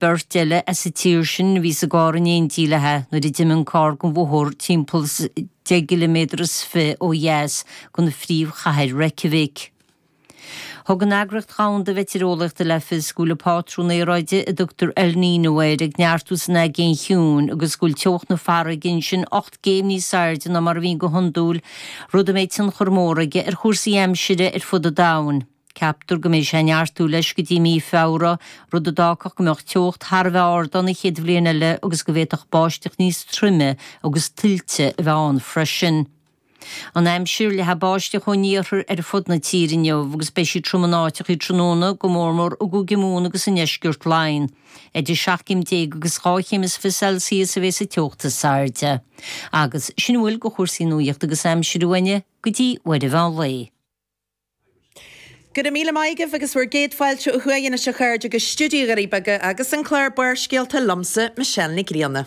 Beirt eile as an tír sin a bhí sa gcarr in éindí léi nuair a d'imigh an carr den bhóthar timpeall is deich gciliméadar is fi ó dheas den phríomhchathair Reykjavik. Thug an Eagraíocht Dhomhanda Mheitéareolaíochta le fios go bhfuil an pátrún aeráide a dtugtar El Niño air ag neartú san Aigéan Chiúin agus go bhfuil teocht na farraige ansin 8 gcéim níos airde ná mar a bhíonn go hiondúil, rud a mbeidh tionchar mór aige ar chúrsaí aimsire ar fud an domhain. Ceaptar go mbeidh sé ag neartú leis go dtí mí Feabhra, rud a d'fhágfadh go mbeadh teocht thar a bheith ard ann an chéad bhliain eile agus go bhféadfadh báisteach níos troime agus tuilte a bheith ann freisin. An aimsir, Leathfaidh báisteach ón iarthar ar fud na tíre inniu agus beidh sí trom in áiteachaí tráthnóna, go mórmór i gCúige Mumhan agus i ndeisceart Laighean. Idir 17 céim agus 2 chéim is fi Celsius a bheas an teocht is airde. Agus sin a bhfuil de chúrsaí nuachta agus aimsire uainne go dtí uair an mheán lae. Go raibh míle maith agaibh agus bhur gcéad fáilte ó thuaidh anois a chairde go Stiúideo Dhoirí Beaga agus an clár Barrscéalta liomsa, Michelle Nic Grianna.